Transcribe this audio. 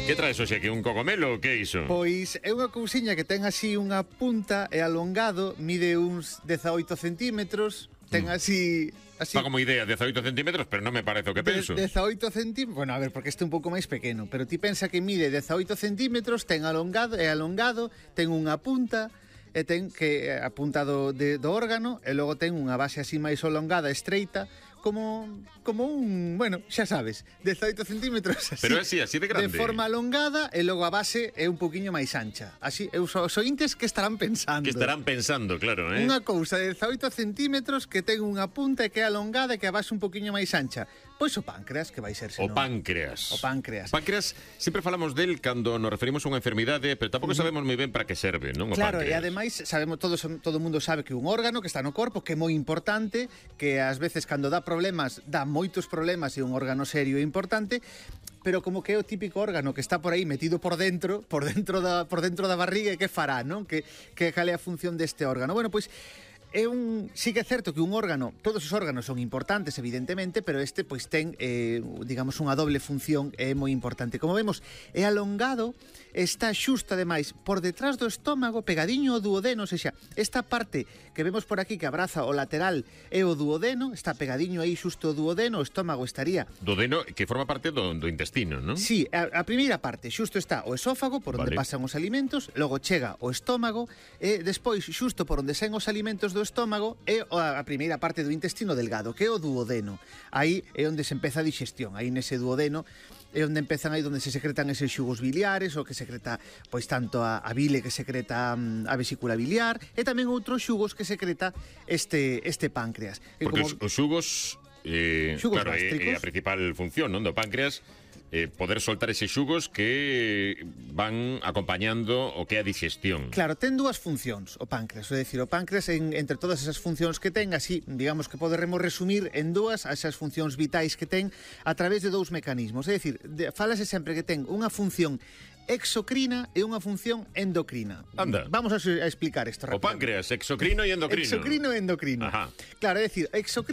Que traes hoxe aquí, un cogomelo ou que é iso? Pois é unha cousiña que ten así unha punta e alongado, mide uns 18 centímetros, ten así... Fa como idea, 18 centímetros, pero non me parece o que penso. 18 centímetros, bueno, a ver, porque este é un pouco máis pequeno, pero ti pensa que mide 18 centímetros, ten alongado, ten unha punta, e ten que a punta do órgano, e logo ten unha base así máis alongada, estreita, como un, bueno, xa sabes, 18 centímetros así. Pero así de grande. De forma alongada, e logo a base é un poquinho máis ancha. Así, os ointes que estarán pensando. Que estarán pensando, claro, Unha cousa de 18 centímetros que ten unha punta e que é alongada e que a base un poquinho máis ancha. Pois o páncreas, que vai ser senón. O páncreas. O páncreas. Páncreas, sempre falamos del cando nos referimos a unha enfermidade, pero tampouco sabemos moi ben para que serve, non? O claro, páncreas. E ademais sabemos todo o mundo sabe que un órgano que está no corpo, que é moi importante, que ás veces cando dá problemas, dá moitos problemas e un órgano serio e importante, pero como que é o típico órgano que está por aí metido por dentro da barriga, e que fará, non? Que cal é a función deste órgano? Bueno, pois sí que é certo que un órgano, todos os órganos son importantes, evidentemente, pero este pois ten, digamos, unha doble función, é moi importante. Como vemos, é alongado, está xusto, ademais, por detrás do estómago, pegadiño ao duodeno, ou seja, esta parte que vemos por aquí que abraza o lateral é o duodeno, está pegadiño aí xusto o duodeno, o estómago estaría... Duodeno, que forma parte do intestino, non? Sí, a primeira parte, xusto está o esófago, por onde pasan os alimentos, logo chega o estómago, e despois, xusto por onde saen os alimentos do estómago, é a primeira parte do intestino delgado, que é o duodeno. Aí é onde se empeza a digestión, aí nese duodeno é onde empezan, aí onde se secretan eses xugos biliares, o que secreta, pois, tanto a bile que secreta a vesícula biliar, e tamén outros xugos que secreta este páncreas. Porque como... os xugos, claro, é a principal función, non, do páncreas, poder soltar eses xugos que van acompañando o que é a digestión. Claro, ten dúas funcións o páncreas, é dicir, o páncreas entre todas esas funcións que ten, así, digamos que poderemos resumir en dúas esas funcións vitais que ten a través de dous mecanismos, é dicir, falase sempre que ten unha función exocrina e unha función endocrina. Anda. Vamos a explicar isto rápido. O páncreas, exocrino e endocrino. Exocrino e endocrino. Ajá. Claro, é dicir, exocrino